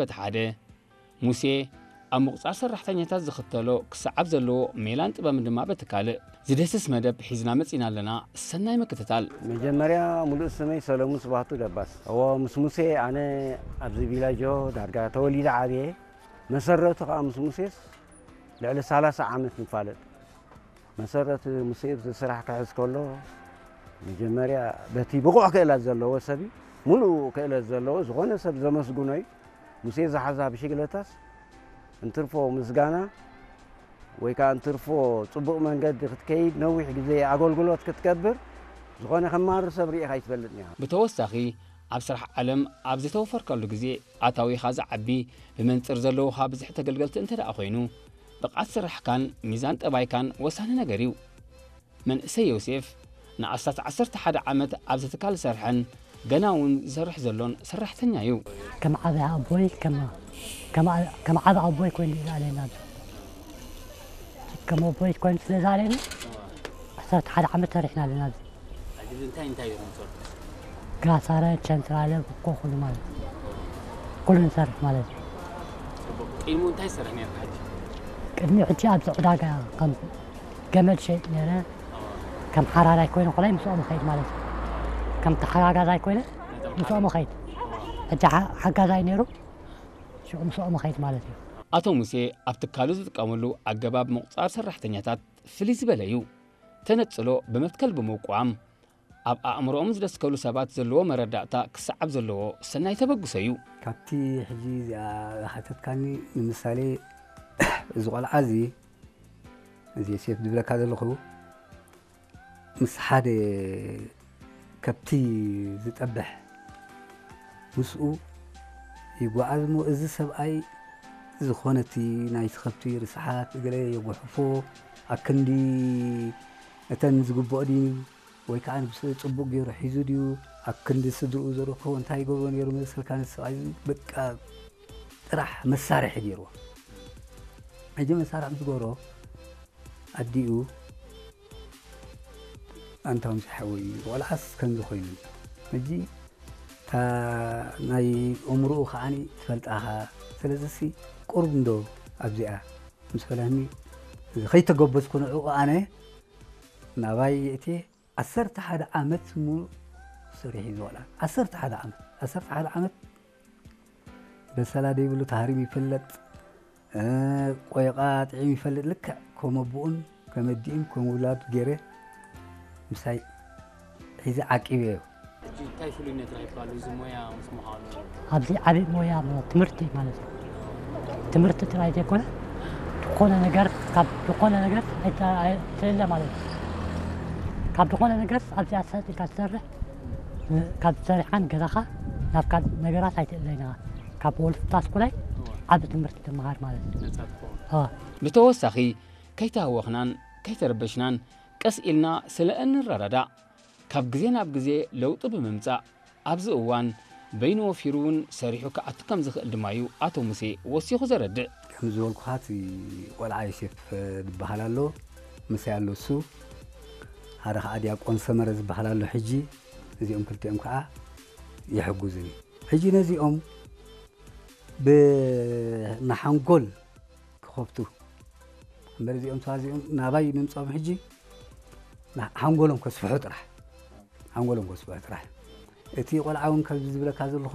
በቲ ሓደ፣ ሙሴ ኣብ ምቑጻር ሰራሕተኛታት ዝኽተሎ ክሰዓብ ዘለዎ ሜላን ጥበብን ድማ በቲ ካልእ፣ ዝደስስ መደብ ሒዝና መጺና ኣለና። ሰናይ ምክትታል። መጀመርያ፣ ሙሉእ ስመይ ሰለሙን ስባህቱ ደባስ። እዎ፣ ምስ ሙሴ ኣነ ኣብዚ ቪላጆ ዳርጋ ተወሊደ ዓብየ። መሰረቱ ከኣ ምስ ሙሴስ ልዕሊ ሰላሳ ዓመት ንፋለጥ። መሰረት ሙሴ እዚ ስራሕ ክሕዝ ከሎ፣ መጀመርያ በቲ ብቑዕ ክእለት ዘለዎ ሰብ እዩ። ሙሉእ ክእለት ዘለዎ ዝኾነ ሰብ ዘመስግኖ እዩ። ሙሴ ዝሓዛ ብሽግለታስ እንትርፎ ምስጋና ወይ ከኣ እንትርፎ ጽቡቕ መንገዲ ክትከይድ፣ ነዊሕ ግዜ ኣገልግሎት ክትገብር፣ ዝኾነ ከማሪ ሰብ ርኢኻ ኣይትፈልጥን ኢኻ። ብተወሳኺ፣ ኣብ ስራሕ ዓለም ኣብ ዝተወፈርካሉ ግዜ፣ ኣታዊኻ ዝዓቢ፣ ብመንጽር ዘለውኻ ብዝሒ ተገልገልቲ እንተ ደኣ ኮይኑ፣ ብቕዓት ስራሕካን ሚዛን ጠባይካን ወሳኒ ነገር እዩ። መንእሰይ ዮሴፍ ንኣስታት ዓሰርተ ሓደ ዓመት ኣብዚ ትካል ዝሰርሐን ገና እውን ዝሰርሕ ዘሎን ሰራሕተኛ እዩ። ከም ዓቢ ኣቦይ፣ ከም፣ ከም ዓ-፣ ከም ዓቢ ኣቦይ ኮይኑ እዩ ዝኣለና። ከም ኣቦይ ኮይኑ ስለ ዝኣለኒ፣ ዓሰርተ ሓደ ዓመት ሰሪሕና ኣለና ኣብዚ። ሕጂ እንታይ እንታይ ኢኹም ትሰርሑ? ጋሳረ፣ ቸንትራለ፣ ብኮ፣ ኩሉ ማለት እዩ። ኩሉ ንሰርሕ ማለት እዩ። ጽቡቕ። ቅድሚኡ እንታይ ትሰርሕ ነርካ ሕጂ? ቅድሚ ሕጂ ኣብዚ ዕዳጋ ከም ገመድ ሸይጥ ነይረ። ከም ሓራራይ ኮይነ ኮላይ ምስኦም እኸይድ ማለት እዩ። ከም ተሓጋጋዛይ ኮይነ ምስኦም እኸይድ። ሕጂ ሓ-፣ ሓጋዛይ ነይሩ፣ ሽዑ ምስኦም እኸይድ ማለት እዩ። ኣቶ ሙሴ ኣብ ትካሉ ዝጥቀመሉ ኣገባብ ምቑጻር ሰራሕተኛታት ፍልይ ዝበለ እዩ። ተነጽሎ ብመትከል ብምውቋም፣ ኣብ ኣእምሮኦም ዝደስከሉ ሰባት ዘለዎ መረዳእታ ክሰዓብ ዘለዎ ሰናይ ተበግሶ እዩ። ካብቲ ሕጂ እዚኣ ዝሓተትካኒ፣ ንምሳሌ፣ እዚ ቆልዓ እዚ፣ እዚ ዮሴፍ ዝብለካ ዘለኹ፣ ምስ ሓደ ከብቲ ዝጠብሕ ምስኡ ይጓዓዝ እሞ፣ እዚ ሰብኣይ ዝኾነቲ ናይቲ ከብቲ ርስሓት ገለ የጉሕፎ፣ ኣክንዲ እተን ዝግብኦ ድዩ ወይ ከዓ ንብስ-፣ ጽቡቕ ገይሩ ሒዙ ድዩ፣ ኣክንዲ ስድርኡ ዘርክቦ እንታይ ይገብሮ ነይሩ መሰልካ፣ ነቲ ሰብኣይ እዚ በቃ ጥራሕ መሳርሒ ገይርዎ። ሕጂ መሳርሒ ምስ ገበሮ፣ ኣዲኡ ኣንታ ሙሴ ሓወይ፣ ቆልዓስ ከምዚ ኮይኑ። ሕጂ እታ ናይ እምርኡ ከዓኒ ትፈልጣኻ። ስለዚሲ ቁሩብ እንዶ ኣብዚኣ ምስ በላኒ፣ እዚ ከይተገበዝኩ ንዕኡ ኣነ ናባይ የእትየ ዓሰርተ ሓደ ዓመት ሙሉእ ሰሪሑ እዩ ዝወልዓ። ዓሰርተ ሓደ ዓመት፣ ዓሰርተ ሓደ ዓመት በሰላ ደይብሉ ተሃሪሙ ይፈልጥ፣ እ፣ ቆይቓ ጥዒሙ ይፈልጥ። ልክዕ ከም ኣቦኡን ከም ኣዲኡን ከም ውላዱ ገይረ ምሳይ ሒዘ ዓቂበዮ። ሕጂ እንታይ ፍሉይነት ረኺብካሉ እዚ ሞያ ምስ ምዃኑ? ኣብዚ ዓቢ ሞያ ማለት ትምህርቲ ማለት እዩ። ትምህርቲ ጥራይ ዘይኮነ፣ ዝኾነ ነገር፣ ካብ ዝኾነ ነገር ኣይተ-፣ ኣይትእለ ማለት እዩ። ካብ ዝኾነ ነገር ኣብዚኣ ሰጥ ኢልካ ትሰርሕ፣ ካብ ዝሰርሕካን ገዛኻ ናብ ካልእ ነገራት ኣይትእለይን ኢኻ። ካብ ወልፍታ ስኩላይ ዓቢ ትምህርቲ ትመሃር ማለት እዩ። ነጻ ትኸውን። ኣዎ። ብተወሳኺ፣ ከይተሃወኽናን ከይተረበሽናን ቀስ ኢልና ስለ እንረዳዳእ፣ ካብ ግዜ ናብ ግዜ ለውጢ ብምምጻእ፣ ኣብዚ እዋን በይኑ ወፊሩ እውን ሰሪሑ ክኣቱ ከም ዝኽእል ድማ እዩ ኣቶ ሙሴ ወሲኹ ዘረድእ። ከም ዝበልኩኻ፣ እቲ ቆልዓ ዮሴፍ ዝበሃል ኣሎ፣ ምሳይ ኣሎ እሱ። ሓደ ኸዓ ዲያቆን ሰመረ ዝበሃል ኣሎ። ሕጂ እዚኦም ክልቲኦም ከዓ ይሕግዙኒ። ሕጂ ነዚኦም ብ-፣ ንሓንጎል ክኸፍቱ እምበር፣ እዚኦም ሰባት እዚኦም ናባይ ምምጾም ሕጂ ና-፣ ሓንጎሎም ከስፍሑ ጥራሕ፣ ሓንጎሎም ከስፍሑ ጥራሕ። እቲ ቆልዓ እውን ከምዚ ዝብለካ ዘለኹ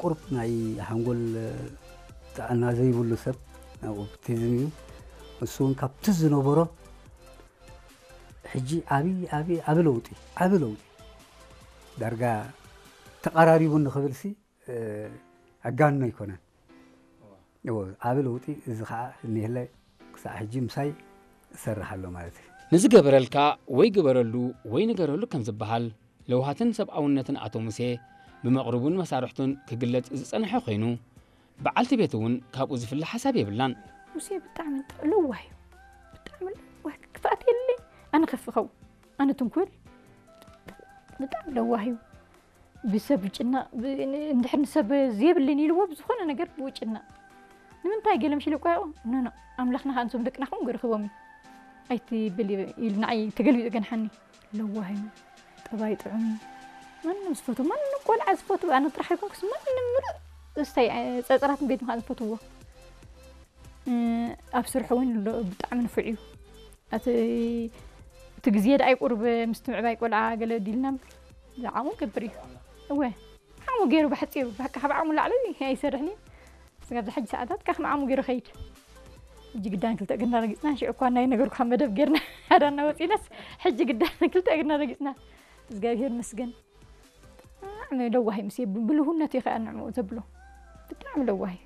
ቁሩብ ናይ ሓንጎል ጥዕና ዘይብሉ ሰብ፣ ናይ ኦቲዝም እዩ። እሱ እውን ካብቲ ዝነበሮ ሕጂ ዓቢ፣ ዓቢ፣ ዓቢ ለውጢ፣ ዓቢ ለውጢ። ዳርጋ ተቐራሪቡ ንኽብልሲ፣ እ፣ ኣጋንኖ ኣይኮነን። እዎ፣ ዓቢ ለውጢ። እዚ ኸዓ እኒሀለ ክሳዕ ሕጂ ምሳይ እሰርሕ ኣሎ ማለት እዩ። ንዝገበረልካ ወይ ግበረሉ ወይ ንገረሉ ከም ዝበሃል፣ ለውሃትን ሰብኣውነትን ኣቶ ሙሴ ብመቕርቡን መሳርሕቱን ክግለጽ ዝጸንሐ ኮይኑ፣ በዓልቲ ቤቱ እውን ካብኡ ዝፍለ ሓሳብ የብላን። ሙሴ ብጣዕሚ ለዋህ እዩ። ብጣዕሚ ለዋህ፣ ክፍኣት የለይ። ኣነ ከፍ ኸውን፣ ኣነ ትንኩል። ብጣዕሚ ለዋህ እዩ። ብሰብ ይጭነቕ፣ ብ-፣ ን-፣ እንድሕር ንሰብ ዘየብለይን ኢልዎ ብዝኾነ ነገር ብኡ ይጭነቕ። ንምንታይ ገለ ምሽ ኢለ እኮ ያው፣ ኖ፣ ኖ፣ ኣምላኽና ከኣ ንሶም ደቅና ከምኡ ገይሩ ክህቦም እዩ። ኣይትበል ኢሉ ንዓይ ተገልቢጡ ገንሓኒ። ለዋህ እዩ፣ ጠባይ ጥዑም እዩ። ማንም ዝፈትዎ፣ ማንም ቆልዓ ዝፈትዎ፣ ኣነ ጥራሕ ኣይኮንኩስ፣ ማንም ምሉእ እስታይ ጸጸራት ቤት ምኻን ዝፈትዎ ኣብ ስርሑ እውን ኣሎ። ብጣዕሚ ንፉዕ እዩ። እቲ እቲ ግዜ ደኣ ይቁርብ ምስቲ ምዕባይ ቆልዓ ገለ ዲልና እምበር ዝዓሙ ገብር እዩ። እወ ዓሙ ገይሩ ብሓፂሩ ባካ ካብ ዓሙ ላዕሊ ኣይሰርሕን እዩ። ስጋብ ዝሓጂ ሰዓታት ካብ ዓሙ ገይሩ ኸይድ። ሕጂ ግዳን ክልተ እግርና ረጊፅና ሽዑ እኳ ናይ ነገርኩ ካብ መደብ ገይርና ሓዳና ወፂናስ ሕጂ ግዳን ክልተ እግርና ረጊፅና እግዚኣብሔር መስገን። ብጣዕሚ ለዋህ እዩ ምስ ብልሁነቱ እዩ ከዓ ንዕኡ ዘብሎ። ብጣዕሚ ለዋህ እዩ።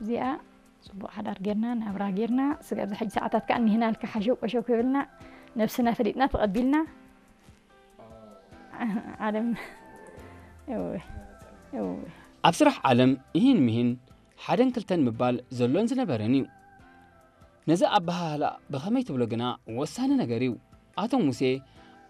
እዚኣ ፅቡቕ ሓዳር ጌርና ናብራ ጌርና ስጋብ ዝሕጂ ሰዓታት ከዓ እኒህና ልካ ሓሸው ቆሸው ክብልና ነብስና ፈሊጥና ተቐቢልና። ዓለም እወ እወ ኣብ ስራሕ ዓለም ይህን ምሂን ሓደን ክልተን ምባል ዘሎን ዝነበረን እዩ። ነዚ ኣበሃህላ ብኸመይ ትብሎ ግና ወሳኒ ነገር እዩ። ኣቶ ሙሴ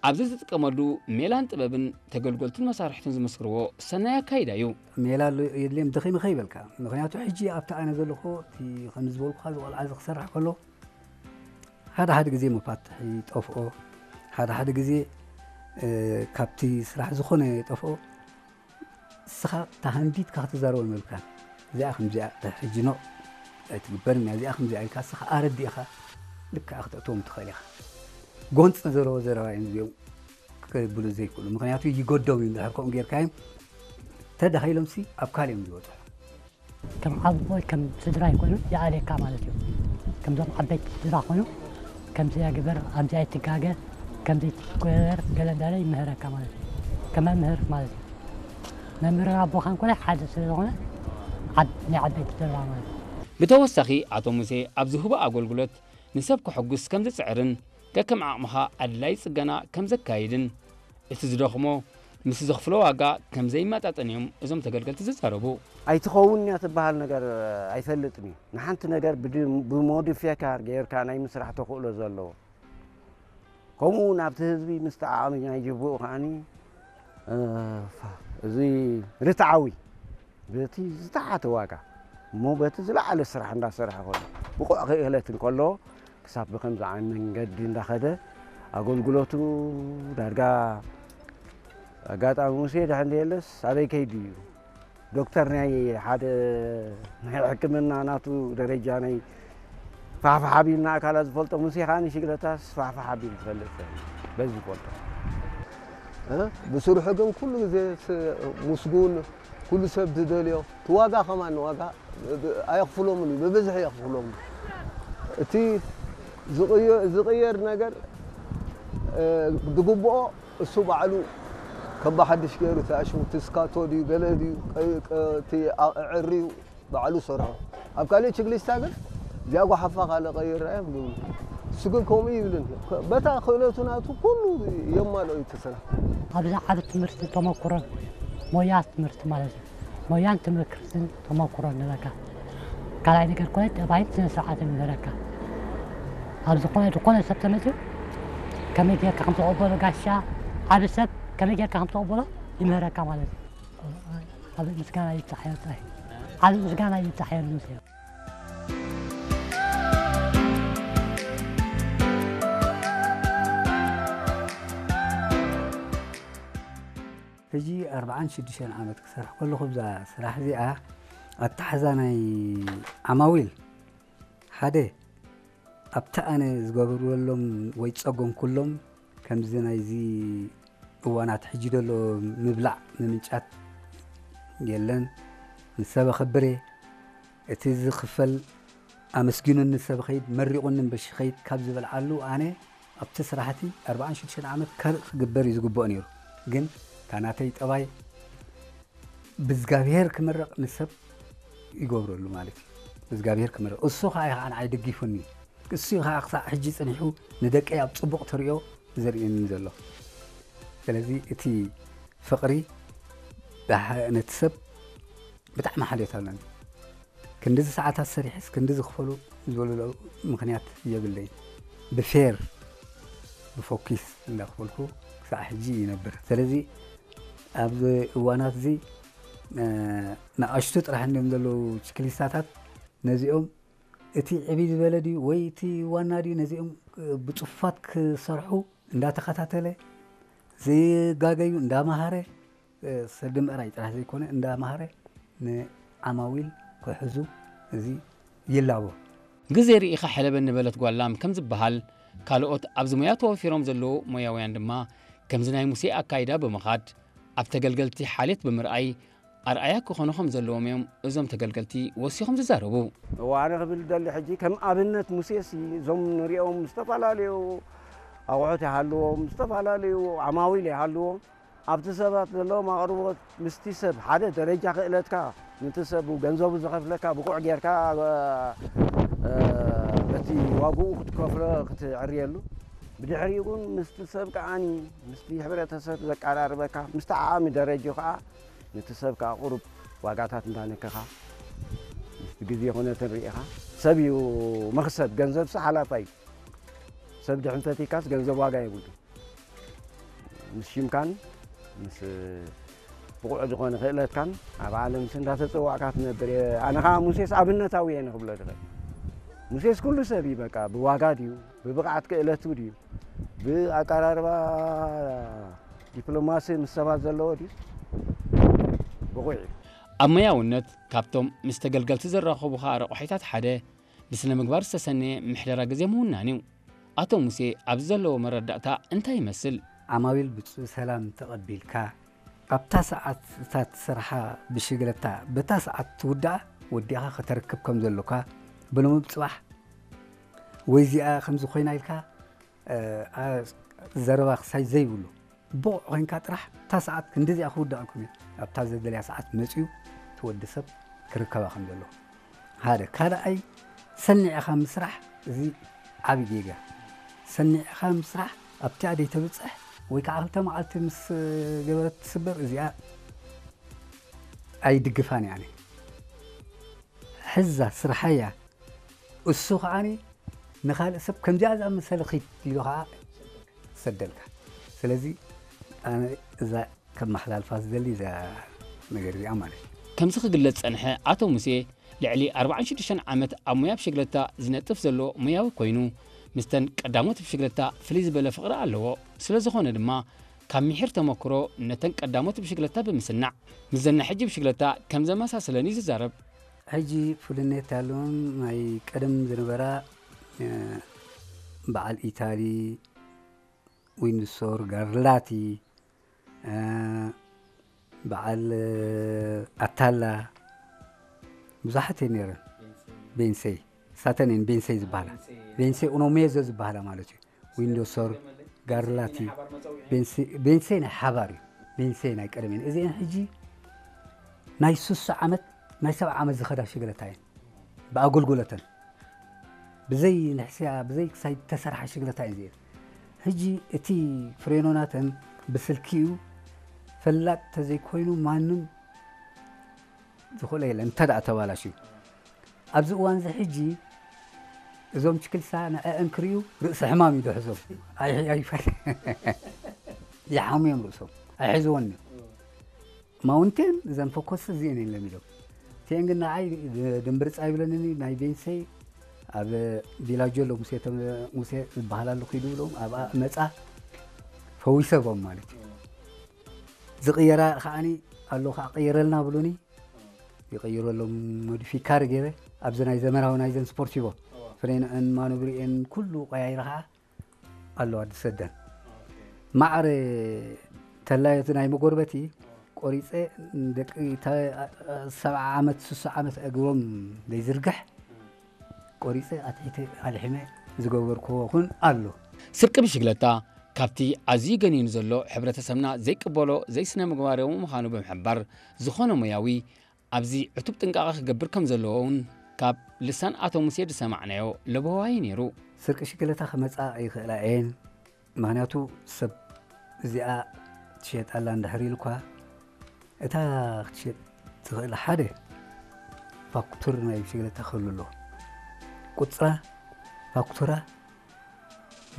ኣብዚ ዝጥቀመሉ ሜላን ጥበብን ተገልገልቱን መሳርሕቱን ዝመስክርዎ ሰናይ ኣካይዳ እዩ። ሜላ ኣሎ የድልየም ደኺመ ከይበልካ፣ ምኽንያቱ ሕጂ ኣብቲ ኣነ ዘለኹ እቲ ከም ዝበልኩኻ ዝቆልዓ እዚ ክሰርሕ ከሎ ሓደ ሓደ ግዜ መፋትሒ ይጠፍኦ፣ ሓደ ሓደ ግዜ ካብቲ ስራሕ ዝኾነ ይጠፍኦ። እስኻ ተሃንዲትካ ክትዛረቦ ይመልካን እዚኣ ከምዚኣ ሕጂ ኖ ኣይትግበርን እያ እዚኣ ከምዚኣ ኢልካ እስኻ ኣረዲእኻ ልክዓ ክተእትዎም ትኽእል ኢኻ። ጎንፂ ዘለዎ ዘረባ እዮም እዚኦም ክብሉ ዘይክእሉ ምክንያቱ ይገዶም እዩ እንድሕር ከምኡ ጌርካዮም ተዳኺሎም ሲ ኣብ ካልእ እዮም ዝበፅሑ። ከም ዓቦ ከም ስድራ ይኮኑ ይኣልየካ ማለት እዩ። ከምዞም ዓበይቲ ስድራ ኮኑ ከምዚ ግበር፣ ኣብዚ ኣይትጋገ፣ ከምዚ ትግበር ገለ እንዳለ ይምህረካ ማለት እዩ። ከም መምህር ማለት እዩ። መምህርን ኣቦኻን ኮነ ሓደ ስለ ዝኾነ ዓብ ናይ ዓበይቲ ስድራ ማለት እዩ። ብተወሳኺ ኣቶ ሙሴ ኣብ ዝህቦ ኣገልግሎት ንሰብ ከሐጉስ ከም ዝጽዕርን ከከም ዓቕምኻ ኣድላዪ ጽገና ከም ዘካይድን እቲ ዝደኽሞ ምስ ዘኽፍሎ ዋጋ ከም ዘይመጣጠን እዮም እዞም ተገልገልቲ ዝዛረቡ። ኣይትኸውን እያ ትበሃል ነገር ኣይፈልጥን እዩ። ንሓንቲ ነገር ብሞዲፊካር ገይርካ ናይ ምስራሕ ተኽእሎ ዘለዎ። ከምኡ እውን ኣብቲ ህዝቢ ምስቲ ዓቕሚ ናይ ጅቡኡ ከዓኒ እዚ ርትዓዊ በቲ ዝተሓተ ዋጋ እሞ በቲ ዝለዓለ ስራሕ እንዳሰርሐ ከሎ ብቑዕ ክእለት እንከሎ ክሳብ ብከምዚ ዓይነት መንገዲ እንዳኸደ ኣገልግሎቱ ዳርጋ ኣጋጣሚ ሙሴ ድሕን ዘየለስ ኣበይ ከይዱ እዩ ዶክተር ናይ ሓደ ናይ ሕክምና ናቱ ደረጃ ናይ ፋሕፋሕ ኣቢልና ኣካላት ዝፈልጦ ሙሴ ከዓ ንሽግለታስ ፋሕፋሕ ኣቢሉ ዝፈልጥ በዚ ዝፈልጦ ብስርሑ ግን ኩሉ ግዜ ምስጉን ኩሉ ሰብ ዝደልዮ እቲ ዋጋ ከማን ዋጋ ኣየኽፍሎምን እዩ ብብዝሒ የኽፍሎም እቲ ዝቕየር ነገር ዝግብኦ እሱ ባዕሉ ከም ብሓድሽ ገይሩ እቲ ኣሽሙቲ ስካቶ ድዩ ገለ ድዩ እቲ ዕርዩ ባዕሉ ሰርሖ ኣብ ካልእ ችግሊስታ ግን እዚኣ ጓሓፋ ካልእ ቀይራ እዮም ዝብሉ እሱ ግን ከምኡ ይብልን በታ ክእለቱ ናቱ ኩሉ የማልኦ እዩ እቲ ስራሕ ኣብዚ ዓቢ ትምህርቲ ተመኩሮን ሞያ ትምህርቲ ማለት እዩ ሞያን ትምህርትን ተመኩሮን ንበካ ካልኣይ ነገር ኮነ ጠባይን ስነ ስርዓትን ንበካ ኣብ ዝኾነ ዝኾነ ሰብ ተመፅኡ ከመይ ጌርካ ከም ተቐበሎ ጋሻ ዓቢ ሰብ ከመይ ጌርካ ከም ተቐበሎ ይምህረካ ማለት እዩ። ዓቢ ምስጋና ይብጻሕ ኤርትራይ። ዓቢ ምስጋና ይብጻሕ ኤርትራይ። ሕጂ ኣርብዓን ሽዱሽተን ዓመት ክሰርሕ ከለኹ ብዛ ስራሕ እዚኣ ኣተሓዛ ናይ ዓማዊል ሓደ ኣብቲ ኣነ ዝገብረሎም ወይ ዝጸገምኩሎም ከምዚ ናይዚ እዋናት ሕጂ ዘሎ ምብላዕ ምምንጫት የለን። ንሰብ ኣኸብር እየ። እቲ ዝኽፈል ኣመስጊኑኒ ሰብ ኸይድ መሪቑኒ እምበሺ ኸይድ ካብ ዝበልዓሉ ኣነ ኣብቲ ስራሕቲ ኣርብዓን ሽዱሽተን ዓመት ካልእ ክግበር እዩ ዝግብኦ ነይሩ። ግን እታ ናተይ ጠባይ ብእዝጋብሄር ክምረቕ ንሰብ ይገብረሉ ማለት እዩ። ብእዝጋብሄር ክምረቕ እሱ ኸዓ እዩ ኸዓ ንዓይ ደጊፉኒ። እሱ እዩ ኸዓ ክሳዕ ሕጂ ጸኒሑ ንደቀይ ኣብ ጽቡቕ ተርእዮ ዘርእየኒ ዘሎ። ስለዚ እቲ ፍቕሪ ነቲ ሰብ ብጣዕሚ ሓልዮት ኣለኒ። ክንድዚ ሰዓታት ሰሪሐስ ክንድዚ ክፈሉ ዝበሉሉ ምኽንያት የብለይን። ብፌር ብፎኪስ እንዳኽፈልኩ ክሳዕ ሕጂ ይነብር። ስለዚ ኣብዚ እዋናት እዚ ንኣሽቱ ጥራሕ እንዲዮም ዘለዉ ችክሊስታታት ነዚኦም እቲ ዕብይ ዝበለ ድዩ ወይ እቲ ዋና ድዩ ነዚኦም ብፅፉፋት ክሰርሑ እንዳተኸታተለ ዘይጋገዩ እንዳመሃረ ሰዲ ምእራይ ጥራሕ ዘይኮነ እንዳመሃረ ንዓማዊል ክሕዙ እዚ ይላቦ። ግዜ ርኢኻ ሕለበኒ በለት ጓል ላም ከም ዝበሃል፣ ካልኦት ኣብዚ ሞያ ተወፊሮም ዘለዉ ሞያውያን ድማ ከምዚ ናይ ሙሴ ኣካይዳ ብምኻድ ኣብ ተገልገልቲ ሓልየት ብምርኣይ ኣርኣያ ክኾኑ ከም ዘለዎም እዮም እዞም ተገልገልቲ ወሲኾም ዝዛረቡ። እዋ፣ ኣነ ክብል ደሊ ሕጂ ከም ኣብነት ሙሴሲ እዞም ንሪኦም ዝተፈላለዩ ኣቑሑት ይሃልዎም፣ ዝተፈላለዩ ዓማዊል ይሃልዎም፣ ኣብቲ ሰባት ዘለዎም ኣቕርቦት ምስቲ ሰብ ሓደ ደረጃ ክእለትካ፣ ነቲ ሰብ ገንዘቡ ዝኸፍለካ ብቑዕ ጌርካ፣ እ፣ በቲ ዋግኡ ክትከፍሎ ክትዕርየሉ፣ ብድሕሪኡ ግን ምስቲ ሰብ ከዓኒ ምስቲ ሕብረተሰብ ዘቀራርበካ፣ ምስቲ ዓሚ ደረጃ ከዓ ነቲ ሰብ ከዓ ቁሩብ ዋጋታት እንዳነከኻ ምስቲ ግዜ ኩነትን ርኢኻ፣ ሰብ እዩ መኽሰብ፣ ገንዘብሲ ሓላፋ እዩ። ሰብ ድሕን ፈቲካስ ገንዘብ ዋጋ የብሉ። ምስ ሽምካን ምስ ብቑዕ ዝኾነ ክእለትካን ኣብ ዓለምሲ እንዳተፀዋዕካ ትነብር እየ። ኣነ ከዓ ሙሴስ ኣብነታዊ እየ ንክብሎ ዝኽእል። ሙሴስ ኩሉ ሰብ እዩ፣ በቃ ብዋጋ ድዩ፣ ብብቕዓት ክእለቱ ድዩ፣ ብኣቀራርባ ዲፕሎማሲ ምስ ሰባት ዘለዎ ድዩ፣ ብቑዕ እዩ። ኣብ መያውነት ካብቶም ምስ ተገልገልቲ ዘራኸቡኻ ረቑሒታት ሓደ ብስነ ምግባር ዝተሰነየ ምሕደራ ግዜ ምውናን እዩ። ኣቶ ሙሴ ኣብዚ ዘለዎ መረዳእታ እንታይ ይመስል? ዓማዊል ብጽ-፣ ሰላም ተቐቢልካ፣ ኣብታ ሰዓት እታ ትሰርሓ ብሽግለታ በታ ሰዓት ትውድኣ ወዲእኻ ከተርክብ ከም ዘሎካ፣ ብልሙብ ጽባሕ ወይ እዚኣ ከምዚ ኮይና ኢልካ፣ እ፣ ኣ-፣ ዘረባ ክሳይ ዘይብሉ፣ ብቑዕ ኮይንካ ጥራሕ እታ ሰዓት ክንዲዚኣ ክውድኣልኩም እየ፣ ኣብታ ዘደልያ ሰዓት መጺኡ እቲ ወዲ ሰብ ክርከባ ከም ዘለዎ። ሓደ። ካልኣይ፣ ሰኒዕኻ ምስራሕ፣ እዚ ዓቢ ጌጋ። ሰኒዕኻ ምስራሕ ኣብቲኣ ደይተብጽሕ ወይ ከዓ ክልተ መዓልቲ ምስ ገበረት ትስበር፣ እዚኣ ኣይድግፋን እየ ኣነ። ሕዛ ስርሓያ፣ እሱ ከዓኒ ንኻልእ ሰብ ከምዚኣ ዝኣመሰለ ኺድ ኢሉ ኸዓ ሰደልካ። ስለዚ ኣነ እዛ ከመሓላልፋ ዝደሊ እዛ ነገር እዚኣ ማለት እዩ። ከምዚ ክግለጽ ጸንሐ ኣቶ ሙሴ፣ ልዕሊ ኣርባዓን ሽዱሽተን ዓመት ኣብ ሙያ ብሽግለታ ዝነጥፍ ዘሎ ሙያዊ ኮይኑ፣ ምስተን ቀዳሞት ብሽግለታ ፍልይ ዝበለ ፍቕሪ ኣለዎ። ስለ ዝኾነ ድማ፣ ካብ ምሒር ተመክሮ ነተን ቀዳሞት ብሽግለታ ብምስናዕ፣ ምስዘን ናይ ሕጂ ብሽግለታ ከም ዘመሳሰለን እዩ ዝዛረብ። ሕጂ ፍልነት ኣለዎን ናይ ቀደም ዝነበራ፣ እ፣ በዓል ኢታሊ፣ ዊንድሶር፣ ጋርላቲ፣ እ፣ በዓል፣ እ፣ ኣታላ፣ ብዙሓት እየን ነይረን። ቤንሰይ። ሳተን እየን ቤንሰይ ዝበሃላ። ቤንሰይ። ቤንሰይ ኡኖሜዞ ዝበሃላ ማለት እዩ። ዊንዶሶር፣ ጋርላቲ፣ ቤንሰይ፣ ቤንሰይ ናይ ሓባር እዩ። ቤንሰይ ናይ ቀደም እየን። እዚአን ሕጂ ናይ ስሳ ዓመት፣ ናይ ሰብዓ ዓመት ዝኸዳ ሽግለታ እየን። ብኣገልግሎተን። ብዘይ ንሕስያ፣ ብዘይ ክሳይ ተሰርሓ ሽግለታ እየን እዚአን። ሕጂ እቲ ፍሬኖ ናተን ብስልኪ እዩ። ፈላጥ ተዘይኮይኑ ማንም ዝኽእሎ የለን፣ እንተ ደኣ ተባላሽዩ። ኣብዚ እዋን እዚ ሕጂ እዞም ችክልሳ ንዕአን ክርእዩ ርእሲ ሕማም እዩ ዝሕዞም። ኣይ-፣ ኣይፈ-፣ ይሓሙ እዮም ርእሶም። ኣይሕዝዎን እዮም። ማውንቴን እዘን ፈኮስ እዚአን እዮም ለሚዶም። እቲአን ግን ንዓይ ድምብርፃ ይብለንኒ፣ ናይ ቤንሰይ ኣብ ቪላጆ ኣሎ፣ ሙሴ ተመ-፣ ሙሴ ዝበሃል ኣሎ፣ ኪዱ ብሎም ኣብኣ መፃ ፈዊሰዎም ማለት እዩ። ዝቕየራ ከዓኒ ኣሎ፣ ከዓ ቀይረልና ብሉኒ። ይቐይረሎም ሞዲፊካር ገይረ ኣብዚ ናይ ዘመናዊ ናይዘን ስፖርቲቮ እዋ። ፍሬንአን ማኖብሪኤን ኩሉ ቀያይረ ከዓ ኣለዋ ዝሰደን። ኦኬ። ማዕረ ተላዮት ናይ መጎርበቲ እዋ። ቆሪፀ ደቂ ተ-፣ ሰብዓ ዓመት፣ ስሳ ዓመት እግሮም ዘይዝርግሕ እም። ቆሪፀ ኣትሒተ ኣልሒመ ዝገበርክዎ እውን ኣሎ። ስርቂ ብሽግለታ ካብቲ ኣዝዩ ገኒኑ ዘሎ ሕብረተሰብና ዘይቅበሎ ዘይስነ ምግባራዊ ምዃኑ ብምሕባር፣ ዝኾነ ሞያዊ ኣብዚ ዕቱብ ጥንቃቐ ክገብር ከም ዘለዎ እውን ካብ ልሳን ኣቶ ሙሴ ዝሰማዕናዮ ለበዋይ ነይሩ። ስርቂ ሽግለታ ክመጻ ኣይኽእላ እየን። ምኽንያቱ ሰብ እዚኣ ትሸየጥ ኣላ እንድሕር ኢሉ እኳ፣ እታ ክትሸጥ ትኽእል ሓደ ፋክቱር ናይ ብሽግለታ ክህሉ ኣለዎ። ቁጽራ፣ ፋክቱራ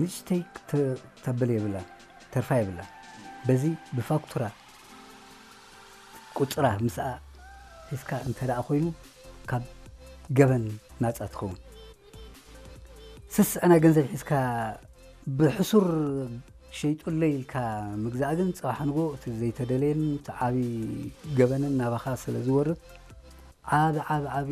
ንእሽተይ ክተ-፣ ተብል የብላን፣ ተርፋ የብላን። በዚ ብፋክቱራ ቁጽራ ምስኣ ሒዝካ እንተ ደኣ ኮይኑ፣ ካብ ገበን ናጻ ትኸውን። ስስዐ ናይ ገንዘብ ሒዝካ ብሕሱር ሸይጡለይ ኢልካ ምግዛእ ግን፣ ጽባሕ ንጎ እቲ ዘይተደለየን እቲ ዓቢ ገበንን ናባኻ ስለ ዝወርድ፣ ዓቢ ዓቢ ዓቢ